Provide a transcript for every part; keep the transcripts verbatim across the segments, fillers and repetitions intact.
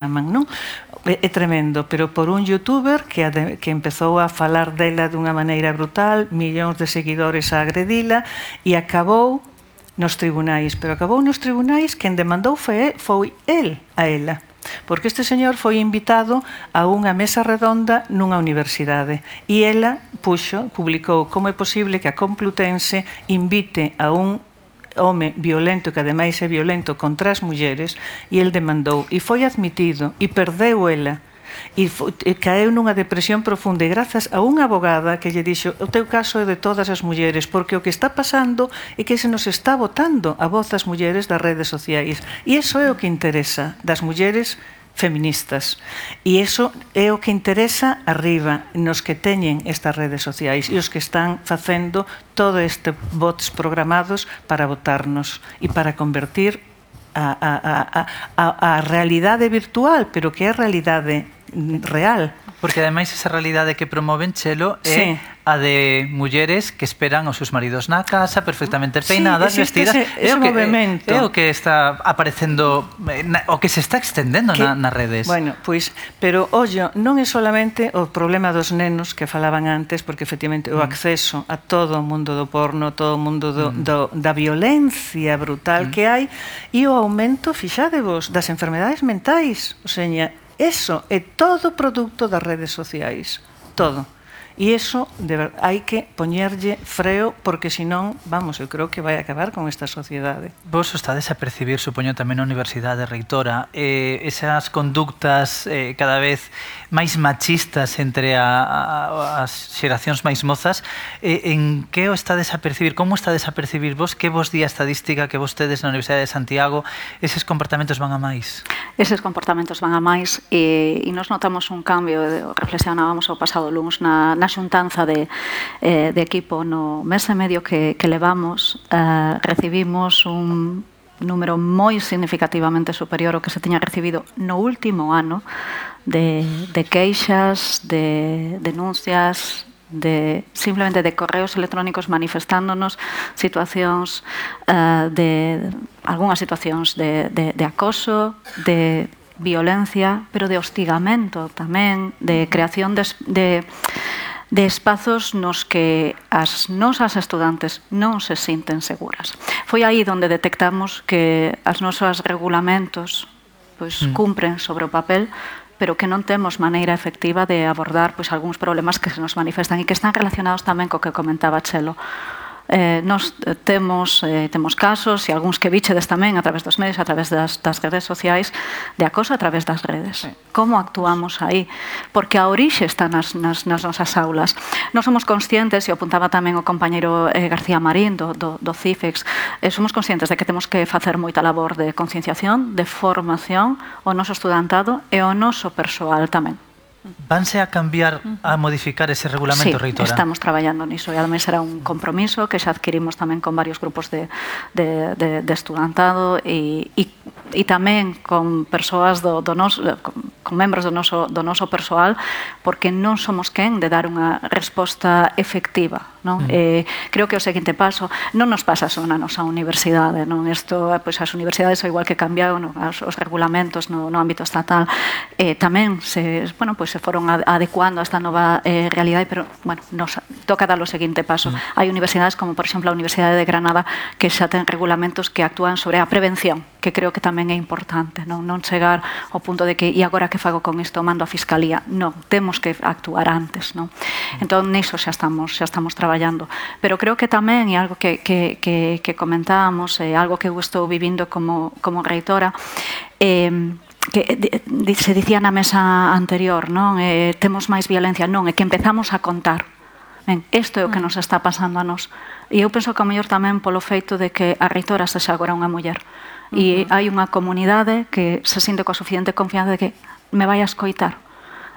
non? É tremendo, pero por un youtuber que, que empezou a falar dela dunha maneira brutal, millóns de seguidores a agredila e acabou nos tribunais, pero acabou nos tribunais quen demandou foi, foi el a ela, porque este señor foi invitado a unha mesa redonda nunha universidade e ela puxo, publicou como é posible que a Complutense invite a un home violento, que ademais é violento contra as mulleres, e el demandou e foi admitido e perdeu ela e, e caeu nunha depresión profunda e grazas a unha abogada que lle dixo o teu caso é de todas as mulleres porque o que está pasando é que se nos está botando a voz das mulleres das redes sociais e iso é o que interesa das mulleres feministas e iso é o que interesa arriba nos que teñen estas redes sociais e os que están facendo todo este bots programados para votarnos e para convertir a, a, a, a, a realidade virtual, pero que é a realidade real. Porque ademais esa realidade que promoven, Chelo, é sí. a de mulleres que esperan aos seus maridos na casa, perfectamente peinadas, sí, vestidas. Ese, ese é, o que, movimento. É, é o que está aparecendo, o que se está extendendo que, na, nas redes. Bueno, pois, pero, ollo, non é solamente o problema dos nenos que falaban antes, porque efectivamente o acceso a todo o mundo do porno, todo o mundo do, mm. do, da violencia brutal mm. que hai, e o aumento, fixadevos, das enfermedades mentais, o seña, eso é todo produto das redes sociais, todo. E iso, hai que poñerlle freo, porque senón, vamos, eu creo que vai acabar con esta sociedade. Vos estades a percibir, supoño, tamén na Universidade Reitora, eh, esas conductas eh, cada vez máis machistas entre a, a, as xeracións máis mozas, eh, en que o estades a percibir? Como estades a percibir vos? Que vos di a estadística que vos tedes na Universidade de Santiago? Eses comportamentos van a máis? Eses comportamentos van a máis e, e nos notamos un cambio, reflexionábamos o pasado luns na, na xuntanza de, eh, de equipo no mes e medio que, que levamos, eh, recibimos un número moi significativamente superior ao que se tiña recibido no último ano de, de queixas, de denuncias, de simplemente de correos electrónicos manifestándonos situacións uh, de algunhas situacións de, de, de acoso, de violencia, pero de hostigamento tamén, de creación de, de, de espazos nos que as nosas estudantes non se sinten seguras. Foi aí onde detectamos que as nosos regulamentos pois, mm. cumpren sobre o papel, pero que non temos maneira efectiva de abordar pois, algúns problemas que se nos manifestan e que están relacionados tamén co que comentaba Chelo. Eh, nos temos, eh, temos casos e algúns que bichedes tamén a través dos medios, a través das, das redes sociais de acoso a través das redes. Sí. Como actuamos aí? Porque a orixe está nas, nas, nas nosas aulas. Non somos conscientes, e apuntaba tamén o compañeiro eh, García Marín do, do, do CIFEX, eh, somos conscientes de que temos que facer moita labor de concienciación, de formación ao noso estudantado e ao noso persoal tamén. Vanse a cambiar, a modificar ese regulamento, sí, reitora? Sí, estamos traballando niso e ademais será un compromiso que xa adquirimos tamén con varios grupos de, de, de, de estudantado e, e, e tamén con persoas do, do nos, con, con membros do noso, do noso persoal, porque non somos quen de dar unha resposta efectiva. Non? Mm. Eh, creo que o seguinte paso non nos pasa só na nosa universidade, non? Isto, pois, as universidades ao igual que cambiaron no, os, os regulamentos no, no ámbito estatal eh, tamén se, bueno, pois, se foron adecuando a esta nova eh, realidade, pero bueno, nos toca dar o seguinte paso. Mm. Hai universidades como por exemplo a Universidade de Granada que xa ten regulamentos que actúan sobre a prevención, que creo que tamén é importante, non, non chegar ao punto de que e agora que fago con isto, mando a Fiscalía. Non, temos que actuar antes, non? Mm. Entón, niso xa estamos, xa estamos traballando. Pero creo que tamén, e algo que, que, que, que comentábamos, é algo que eu estou vivindo como, como reitora, eh, que se dicía na mesa anterior, non? Eh, temos máis violencia, non, é que empezamos a contar. Ben, isto é o que nos está pasando a nós. E eu penso que ao mellor tamén polo feito de que a reitora sexa agora unha muller. E hai unha comunidade que se sinte coa suficiente confianza de que me vai a escoitar.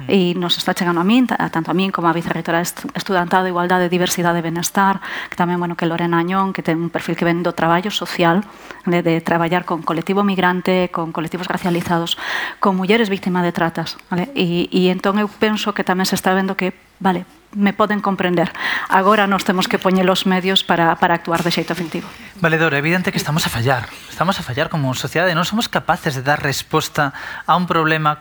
E nos está chegando a min, tanto a min como a vicerreitora estudantado de Igualdade, Diversidade e Benestar, que tamén, bueno, que Lorena Añón, que ten un perfil que ven do traballo social, de, de traballar con colectivo migrante, con colectivos racializados, con mulleres víctimas de tratas, vale? E, e entón eu penso que tamén se está vendo que, vale, me poden comprender. Agora nós temos que poñer os medios para, para actuar de xeito efectivo. Valedora, é evidente que estamos a fallar. Estamos a fallar como sociedade. Non somos capaces de dar resposta a un problema